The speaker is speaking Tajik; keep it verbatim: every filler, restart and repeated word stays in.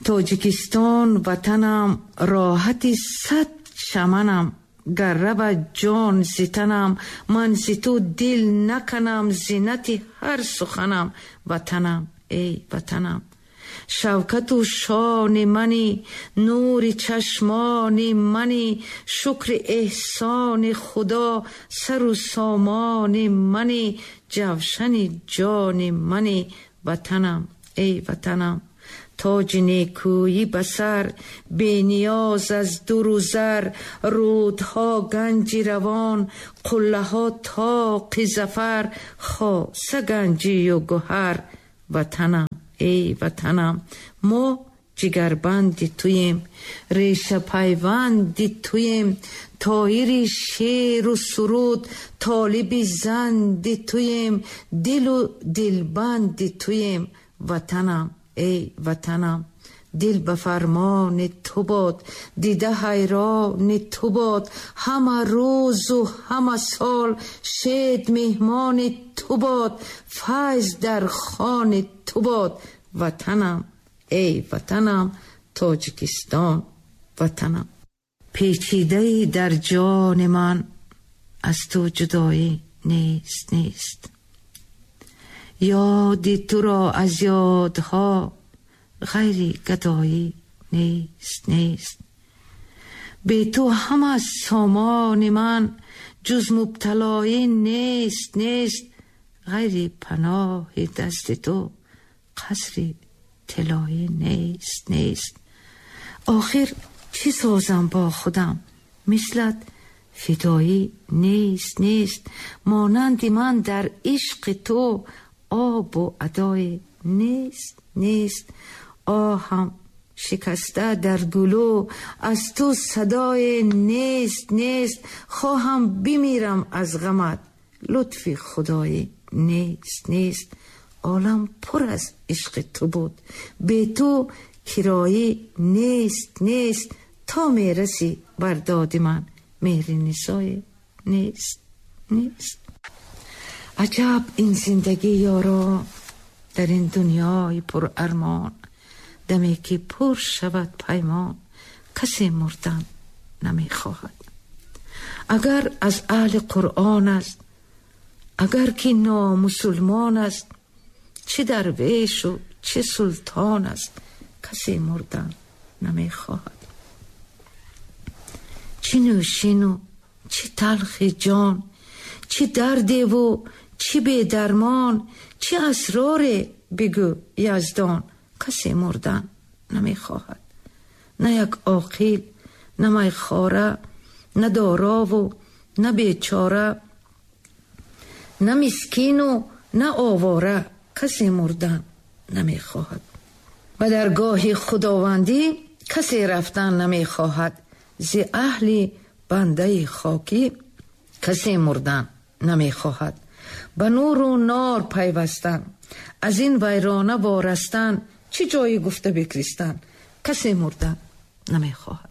Тоҷикистон ватанам, роҳати сад чаманам, гар равад ҷон зи танам, ман зи ту дил наканам, зинати ҳар суханам, ватанам, эй ватанам. Шавкату шони мани, нури чашмони мани, шукри эҳсони Худо, сару сомони мани, ҷавшани ҷони мани, ватанам, эй ватанам. Тоҷи некӯӣ ба сар, бениёз аз дуру зар, рӯдҳо ганҷи равон, қуллаҳо тоқи зафар, хоса ганҷию гӯҳар, ватанам, эй ватанам. Мо ҷигарбанди туем, решапайванди туем, тоири шеру суруд, толиби занди туем, дилу дилбанди туем, ватанам, эй ватанам. Дил ба фармони ту бод, дида ҳайрони ту бод, ҳама рӯзу ҳама сол шед меҳмони ту бод, файз дар хони ту бод, ватанам, эй ватанам, Тоҷикистон ватанам. Печидаи дар ҷони ман аз ту ҷудоӣ нест, нест. Ёди туро аз ёдҳо ғайри гадоӣ нест, нест. Бе ту ҳама сомони ман ҷуз мубталоӣ нест, нест. Ғайри паноҳи дасти ту қасри тилоӣ нест, нест. Охир чӣ созам бо худам, мислат фидоӣ нест, нест. Монанди ман дар ишқи ту обу адое нест, нест. Оҳам шикаста дар гулӯ аз ту садое нест, нест. Хоҳам бимирам аз ғамат, лутфи худоӣ нест, нест. Олам пур аз ишқи ту буд, бе ту кироӣ нест, нест. То мерасӣ бар доди ман меҳри нисое нест, нест. Аҷаб ин зиндагӣ ёро дар ин дунёи пурармон, даме ки пур шавад паймон, касе мурдан намехоҳад. Агар аз аҳли Қуръон аст, агар ки номусулмон аст, чӣ дарвешу чӣ султон аст, касе мурдан намехоҳад. Чӣ нӯшину чӣ талхи ҷон, чӣ дардеву чӣ бедармон, чӣ асроре бигӯ Яздон, касе мурдан намехоҳад. На як оқил, на майхора, на дорову на бечора, на мискину на овора, касе мурдан намехоҳад. Ба даргоҳи худовандӣ касе рафтан намехоҳад, зи аҳли бандаи хокӣ касе мурдан намехоҳад. Ба нуру нор пайвастан, аз ин вайрона ворастан, чӣ ҷое гуфта бикристан, касе мурдан намехоҳад.